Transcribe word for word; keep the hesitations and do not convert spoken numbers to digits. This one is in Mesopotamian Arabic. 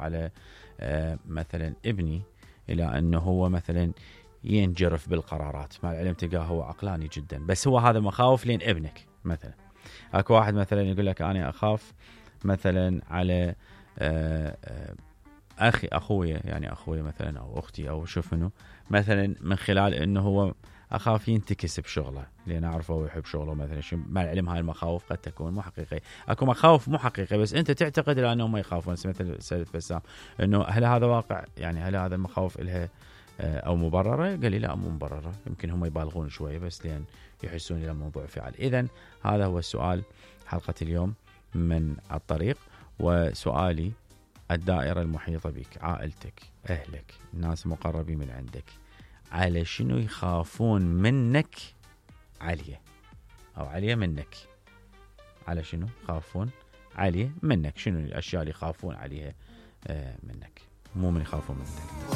على آه مثلا ابني الى انه هو مثلا ينجرف بالقرارات، مع العلم تلقاه هو عقلاني جدا، بس هو هذا مخاوف لين ابنك. مثلا اكو واحد مثلا يقول لك انا اخاف مثلا على آه آه اخي اخويا يعني اخويا مثلا او اختي او شوف منه مثلا من خلال انه هو اخاف ينتكس بشغله لان اعرفه هو يحب شغله مثلا. شو مع العلم هاي المخاوف قد تكون مو حقيقيه. اكو مخاوف مو حقيقيه بس انت تعتقد لانهم ما يخافون، مثل سيد بسام انه هل هذا واقع؟ يعني هل هذا المخاوف لها او مبرره؟ قال لي لا مو مبرره، يمكن هم يبالغون شويه بس لان يحسون الى الموضوع فعال. اذا هذا هو السؤال حلقه اليوم من الطريق. وسؤالي الدائرة المحيطة بك، عائلتك، أهلك، الناس المقربين من عندك، على شنو يخافون منك عليه أو عليه منك؟ على شنو يخافون عليه منك؟ شنو الأشياء اللي يخافون عليها منك، مو من يخافون منك.